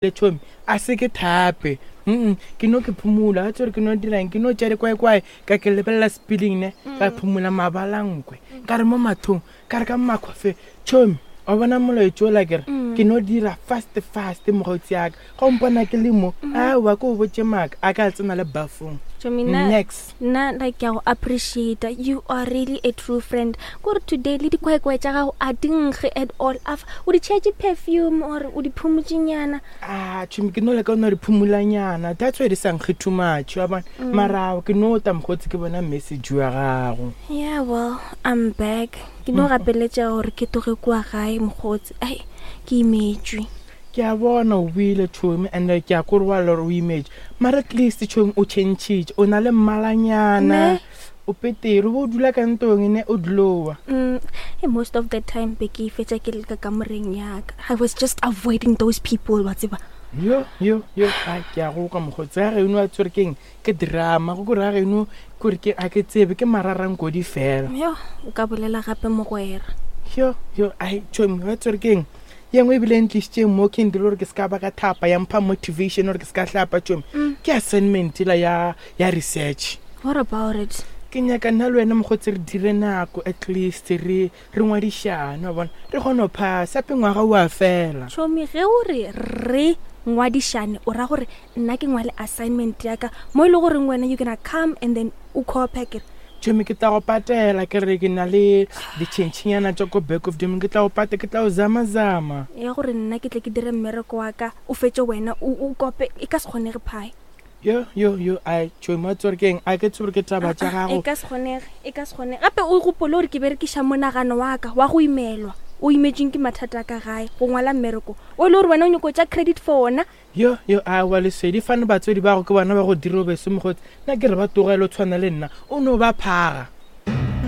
Le tšhomi, a se ke thape. Mm, ke no ke phumula, ga tsore ke no dirang, ke no tša dikwaekwae, ka ke lebelela speeding ne, ka phumula mabalankwe. Ka re mo mathong, ka re ka makhofe, tšhomi, wa bona molaetšo ola ke re, ke no dira fast fast mokgotsi ya ka. Ga o mpona ke le mo, aowa ke o botše maaka, a ka tsena le bafong. Tšhomi, nna Next. nna like ke a go appreciate you are really a true friend kore today le dikwaekwae tša gago a di nkge at all afa o di tšhetše perfume or o di phumotšenyana a tšhomi ke no leka o no re phumulanyana that's why di sa nkge too much wa bona mm. mara ke no ta mokgotsi ke bona message wa gago yeah well i'm back ke no mm. gapeletša gore ke toge kua gae mokgotsi ai ke imetšwe ke a bona o buile tšhomi and ke a kore wa lore o imetšwe mara at least tšhomi o changile o na le mmalanyana o petere o bo o dula ka ntong ne o dlowa mm, most of the time be ke fetša ke le ka kamoreng yaka i was just avoiding those people wa tseba yo yo yo a ke a go kwa mokgotsi ga geno a tswere keng ke drama go kore ga geno kore ke a ke tsebe ke mararankodi fela yo o ka bolela gape mogwera yo yo ai tšhomi wa tswere keng ye nngwe ebile e ntlišitšeng mo ke ndile gore ke se ka ba ka thapa ya mpha motivation gore ke se ka hlapa tšomi mm. ke assignment la ya ya research what about it ke nyaka nna le wena mokgotsi re dire nako at least re re ngwadišane wa bona re kgone go phasa ape ngwaga o a fela chomi ge o re re ngwadišane o ra gore nna ke ngwale assignment ya ka mo e le goreng wena you gonna come and then o copy kere chomi ke tla go patela ke re ke na le ditšhentšhinyana tša ko back of domin ke tla go pate ke tla go zamazama ya gore nna ke tle ke dire mmereko wa ka o fetse wena o kope e ka se kgonege phae yo yo yo a tšhomi wa tsore keng a ke tsore ke taba tša gago e ka se kgonege e ka se kgonege gape o gopole gore ke berekiša monagano wa ka wa go imelwa o imetsweng ke mathata a ka gae go ngwala mmereko o e le gore wena o nyako tša credit for ona yo yo a wa lesedi fane batswedi ba go ke bona ba go dira o bese mogotsi nna ke re ba togele o tshwana le nna o no ba phaga.